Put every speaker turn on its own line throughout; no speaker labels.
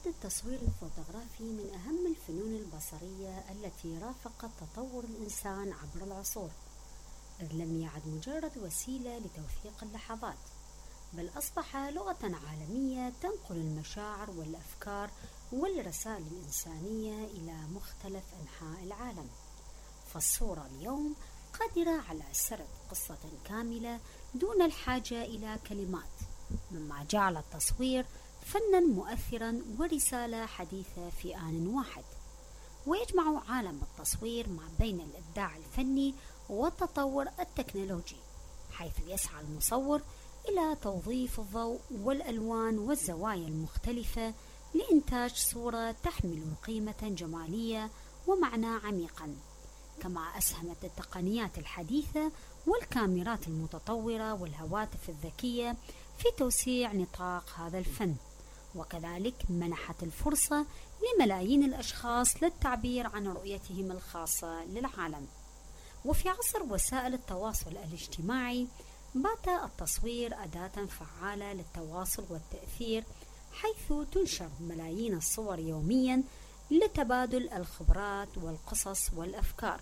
يعد التصوير الفوتوغرافي من أهم الفنون البصرية التي رافقت تطور الإنسان عبر العصور، إذ لم يعد مجرد وسيلة لتوثيق اللحظات، بل أصبح لغة عالمية تنقل المشاعر والأفكار والرسائل الإنسانية إلى مختلف أنحاء العالم. فالصورة اليوم قادرة على سرد قصة كاملة دون الحاجة إلى كلمات، مما جعل التصوير فناً مؤثراً ورسالة حديثة في آن واحد. ويجمع عالم التصوير ما بين الإبداع الفني والتطور التكنولوجي، حيث يسعى المصور إلى توظيف الضوء والألوان والزوايا المختلفة لإنتاج صورة تحمل قيمة جمالية ومعنى عميقاً. كما أسهمت التقنيات الحديثة والكاميرات المتطورة والهواتف الذكية في توسيع نطاق هذا الفن، وكذلك منحت الفرصة لملايين الأشخاص للتعبير عن رؤيتهم الخاصة للعالم. وفي عصر وسائل التواصل الاجتماعي بات التصوير أداة فعالة للتواصل والتأثير، حيث تنشر ملايين الصور يوميا لتبادل الخبرات والقصص والأفكار.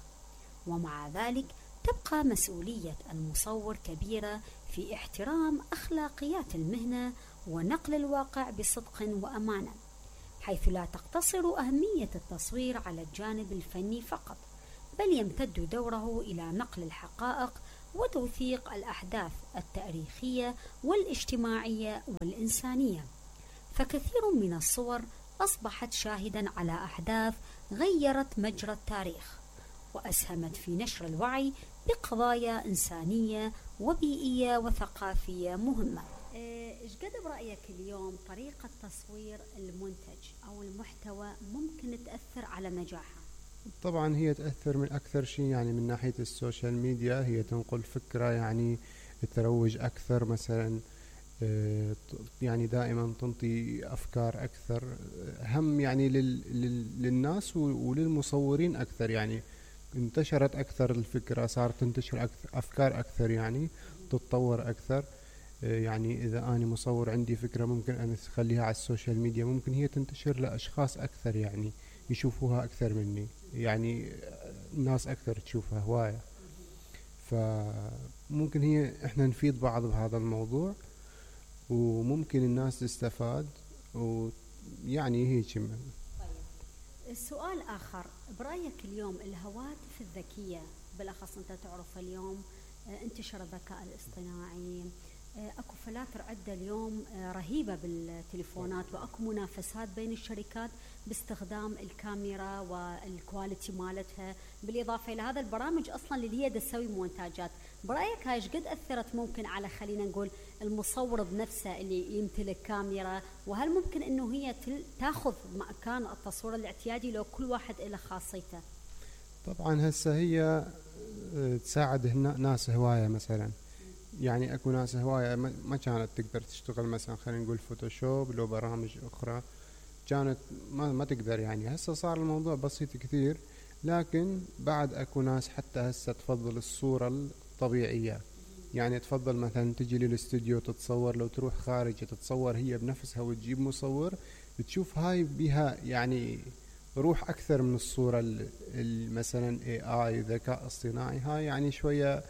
ومع ذلك تبقى مسؤولية المصور كبيرة في احترام أخلاقيات المهنة ونقل الواقع بصدق وأمانة، حيث لا تقتصر أهمية التصوير على الجانب الفني فقط، بل يمتد دوره إلى نقل الحقائق وتوثيق الأحداث التاريخية والاجتماعية والإنسانية. فكثير من الصور أصبحت شاهداً على أحداث غيرت مجرى التاريخ، وأسهمت في نشر الوعي بقضايا إنسانية وبيئية وثقافية مهمة. إيش قد برأيك اليوم طريقة تصوير المنتج أو المحتوى ممكن تأثر على نجاحه؟
طبعا هي تأثر من أكثر شيء، يعني من ناحية السوشيال ميديا هي تنقل فكرة، يعني تروج أكثر مثلا، يعني دائما تنطي أفكار أكثر، هم يعني للناس وللمصورين أكثر، يعني انتشرت أكثر الفكرة، صارت تنتشر أفكار أكثر، يعني تتطور أكثر. يعني إذا أنا مصور عندي فكرة ممكن أن أخليها على السوشيال ميديا، ممكن هي تنتشر لأشخاص أكثر، يعني يشوفوها أكثر مني، يعني الناس أكثر تشوفها هواية. فممكن هي إحنا نفيد بعض بهذا الموضوع، وممكن الناس تستفاد، ويعني هيك.
طيب، السؤال آخر، برأيك اليوم الهواتف الذكية بالأخص، أنت تعرف اليوم انتشر الذكاء الاصطناعي، اكو فلاتر عدة اليوم رهيبة بالتليفونات، واكو منافسات بين الشركات باستخدام الكاميرا والكواليتي مالتها، بالاضافة الى هذا البرامج اصلا اللي هي تسوي مونتاجات. برايك هاي قد اثرت ممكن على، خلينا نقول، المصور بنفسه اللي يمتلك كاميرا؟ وهل ممكن انه هي تاخذ مكان التصوير الاعتيادي لو كل واحد له خاصيته؟
طبعا هسه هي تساعد ناس هواية مثلا، يعني اكو ناس هواية ما كانت تقدر تشتغل مثلا، خلينا نقول فوتوشوب لو برامج اخرى كانت ما تقدر، يعني هسه صار الموضوع بسيط كثير. لكن بعد اكو ناس حتى هسه تفضل الصورة الطبيعية، يعني تفضل مثلا تجي للاستوديو تتصور، لو تروح خارج تتصور هي بنفسها وتجيب مصور، بتشوف هاي بها يعني روح اكثر من الصورة مثلا AI ذكاء اصطناعي. هاي يعني شوية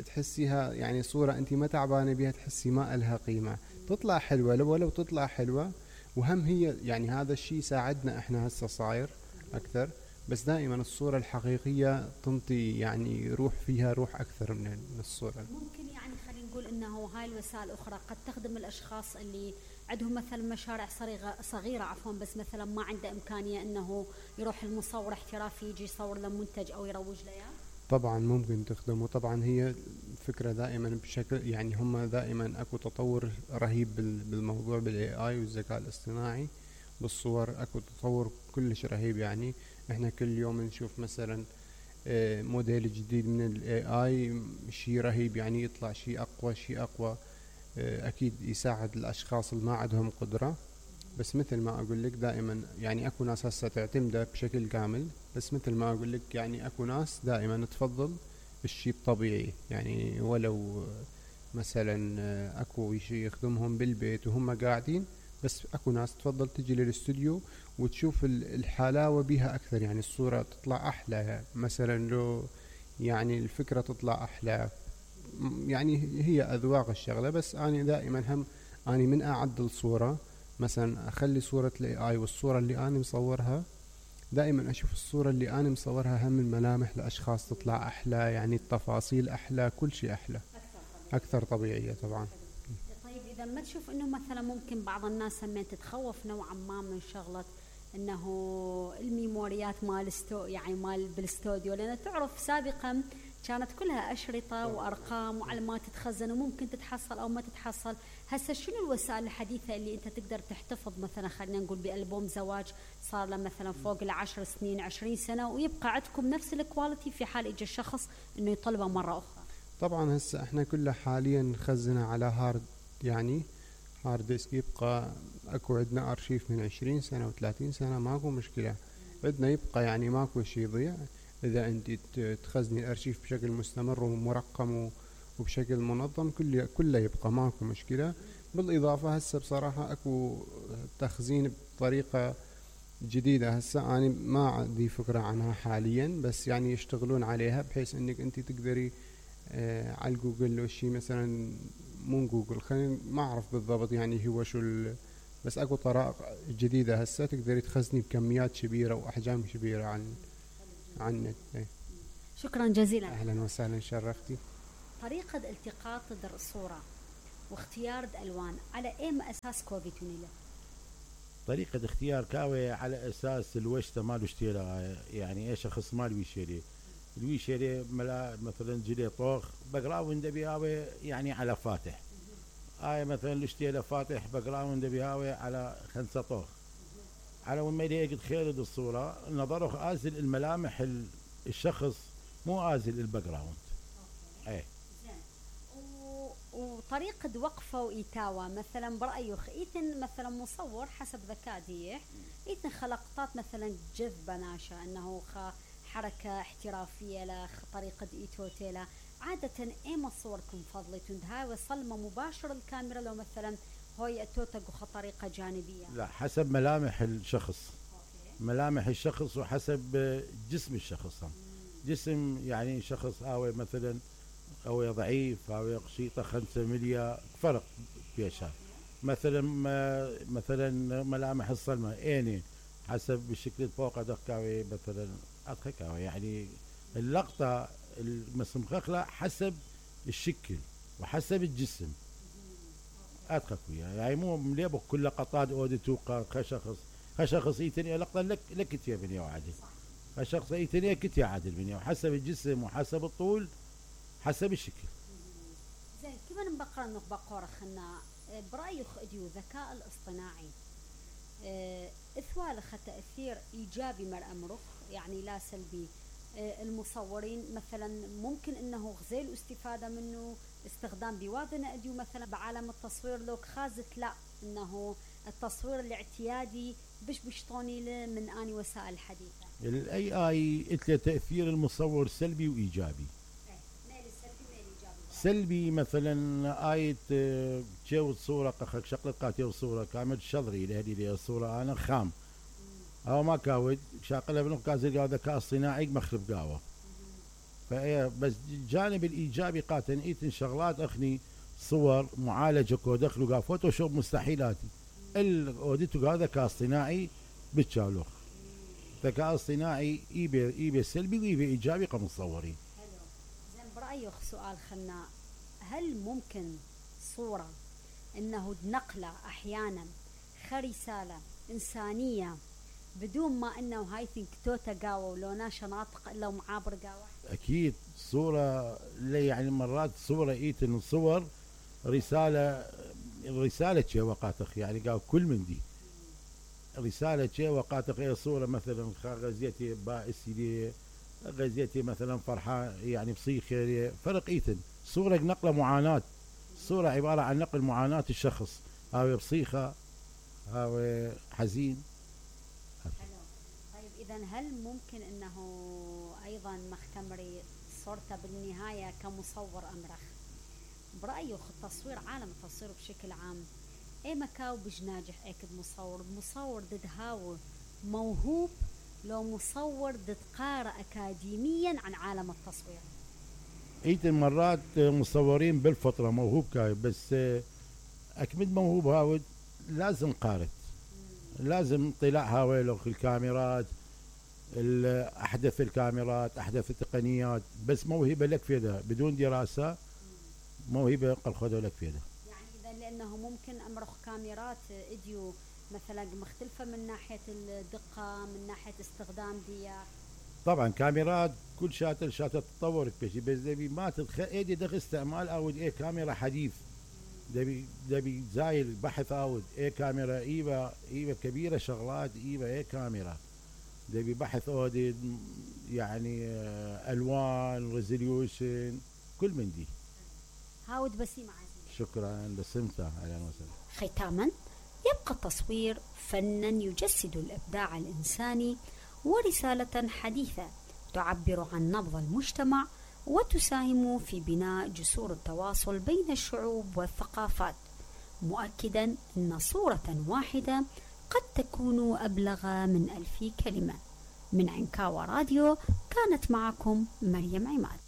تحسيها يعني صورة انت ما تعبانة بها، تحسي ما لها قيمة، تطلع حلوة ولو تطلع حلوة. وهم هي يعني هذا الشيء ساعدنا احنا هسه صاير اكثر، بس دائما الصورة الحقيقية تنطي يعني روح، فيها روح اكثر من الصورة.
ممكن يعني خلينا نقول انه هاي الوسائل الاخرى قد تخدم الاشخاص اللي عندهم مثلا مشاريع صغيرة بس مثلا ما عنده امكانية انه يروح المصور احترافي يجي يصور له منتج او يروج له.
طبعا ممكن تخدمه. طبعا هي فكرة دائما بشكل، يعني هم دائما اكو تطور رهيب بالموضوع بالاي اي والذكاء الاصطناعي بالصور، اكو تطور كلش رهيب. يعني احنا كل يوم نشوف مثلا موديل جديد من الاي اي، شيء رهيب، يعني يطلع شيء اقوى اكيد يساعد الاشخاص اللي ما عندهم قدرة. بس مثل ما اقول لك دائما يعني اكو ناس هسه تعتمده بشكل كامل، بس مثل ما اقول لك يعني اكو ناس دائما تفضل الشيء الطبيعي، يعني ولو مثلا اكو شيء يخدمهم بالبيت وهم قاعدين بس اكو ناس تفضل تجي للاستوديو وتشوف الحلاوة بيها اكثر، يعني الصورة تطلع احلى مثلا، لو يعني الفكرة تطلع احلى. يعني هي اذواق الشغلة. بس اني دائما هم اني من اعدل صورة مثلا اخلي صورة الاي اي والصورة اللي اني مصورها، دائما اشوف الصورة اللي انا مصورها هم الملامح الاشخاص تطلع احلى، يعني التفاصيل احلى، كل شيء احلى اكثر طبيعية طبعا.
طيب إذا ما تشوف إنه مثلا ممكن بعض الناس هم تتخوف نوعا ما من شغلة إنه الميموريات مال يعني مال بالاستوديو، لأن تعرف سابقا كانت كلها أشرطة وأرقام وعلامات تتخزن وممكن تتحصل أو ما تتحصل. هسه شنو الوسائل الحديثة اللي أنت تقدر تحتفظ مثلا خلينا نقول بألبوم زواج صار له مثلا فوق 10 سنين 20 سنة ويبقى عندكم نفس الكواليتي في حال إجا الشخص إنه يطلبه مرة أخرى؟
طبعا هسه احنا كلها حاليا نخزنها على هارد، يعني هارد ديسك يبقى. اكو عندنا ارشيف من 20 سنة و30 سنة، ماكو مشكلة، بدنا يبقى يعني ماكو شي يضيع. اذا انت تخزني الارشيف بشكل مستمر ومرقم وبشكل منظم كله يبقى، ماكو مشكلة. بالاضافة هسه بصراحة اكو تخزين بطريقة جديدة، هسه انا ما عندي فكرة عنها حاليا، بس يعني يشتغلون عليها بحيث انك انت تقدري على الجوجل لو شي مثلا، مو جوجل خلينا ما اعرف بالضبط يعني هو شو بس اكو طرائق جديدة هسه تقدري تخزني بكميات كبيرة واحجام كبيرة عن النت.
شكرا جزيلا.
اهلا وسهلا، شرفتي.
طريقة التقاط الصورة واختيار الألوان على أي أساس كوفيتونيلا؟
طريقة اختيار كاوي على أساس الوشتة مالو اشتيرها، يعني أي شخص مال ويشيري الويشيري مثلا جلي طوخ بقراوند بيهاوي يعني على فاتح، هاي مثلا الاشتيله فاتح بقراوند بيهاوي على 5 طوخ، على وين ما يقد خيرد الصورة نظره آزل الملامح الشخص مو آزل الباك جراوند. ايه
وطريقة وقفة وإيتاوة مثلا برأيك إيتن مثلا مصور حسب ذكاء ديح إيتن خلقطات مثلا جذبة ناشا أنه حركة احترافية لا طريقة إيتوتيلا عادة إيما صوركم فضلتون هاي وصلمة مباشرة الكاميرا لو مثلا هاي التوتق طريقة جانبية؟
لا، حسب ملامح الشخص. ملامح الشخص وحسب جسم الشخص. جسم يعني شخص هاوي مثلا هو ضعيف هاوي قشيطة 5 مليا فرق بيشها. مثلا ملامح الصلمة عيني حسب الشكل الفوق دكاوي مثلا أدخكاوي يعني اللقطة المسمخخلة حسب الشكل وحسب الجسم أدخكويا يعني مو مليبك كل لقطات أوديتو خشخص يتني لقطة لك يا بني وعادل خشخص يتني كت يا عادل بني وحسب الجسم وحسب الطول حسب الشكل.
زين كيف نبقى نقبقور خنا برأيك اديو الذكاء الاصطناعي اثوال تأثير ايجابي مر امرك يعني لا سلبي؟ المصورين مثلا ممكن انه غزيل استفادة منه استخدام بوادنا اديو مثلا بعالم التصوير لوك خازت لا انه التصوير الاعتيادي بشطوني له من اني وسائل الحديثة
الاي اي اتله تأثير المصور سلبي وايجابي. سلبي مثلا آية جاوز صورة قخك شقلت قاتل صورة كامل شظري لهذه لي الصورة أنا خام أو ما كاود شاقلها بنو كازل قاعد ذكاء اصطناعي مخرب قاوة. فهي بس الجانب الإيجابي قاتل إيتن شغلات أخني صور معالجة كودخلو قا فوتوشوب مستحيلاتي الأوديتو قاعد ذكاء اصطناعي بتشالوخ. ذكاء اصطناعي إيبي سلبي وإيبي إيجابي كمصورين.
برأيك سؤال خناء هل ممكن صورة انه نقلة احيانا رسالة انسانية بدون ما انه هاي ثينك توتا قاوة ولو ناشا ناطق الا معابر قاوة؟
اكيد صورة يعني مرات صورة ايتن صور رسالة شيء وقاتخ يعني قال كل من دي رسالة شيء وقاتخ هي صورة مثلا غزيتي بائسي دي غزيتي مثلا فرحة يعني بصيخ فرق ايتن صورة نقل معاناة صورة عبارة عن نقل معاناة الشخص هاوي بصيخة هاوي حزين.
طيب اذا هل ممكن انه ايضا مختمري صورته بالنهاية كمصور امرخ برأيك التصوير عالم التصوير بشكل عام اي مكاو بج ناجح اكد مصور دد هاو موهوب، لو مصور دد قارئ اكاديميا عن عالم التصوير.
ايت مرات مصورين بالفطرة موهوب كاي، بس اكمد موهوب هاود لازم قارئ، لازم طلاع هاويلو الكاميرات، احدث الكاميرات، احدث التقنيات، بس موهبة لك فيها بدون دراسة، موهبة قل خذوا لك فيها.
يعني اذا لانه ممكن امرخ كاميرات اديو مثلا مختلفة من ناحية الدقة، من ناحية استخدام ديا.
طبعا كاميرات كل شاتل تطور بشي، بس دبي ما ايدي دغ استعمال اود ايه كاميرا حديث، دبي زايل بحث اود ايه كاميرا ايبا كبيرة شغلات ايبا ايه كاميرا، دبي بحث اودي يعني الوان ريزوليوشن كل من دي.
هاود بسيم عزيزي.
شكرا بسمتها، اهلا وسهلا.
ختاما، يبقى التصوير فنا يجسد الابداع الانساني ورسالة حديثة تعبر عن نبض المجتمع وتساهم في بناء جسور التواصل بين الشعوب والثقافات، مؤكدا أن صورة واحدة قد تكون أبلغ من 1000 كلمة. من عنكاوى راديو كانت معكم مريم عماد.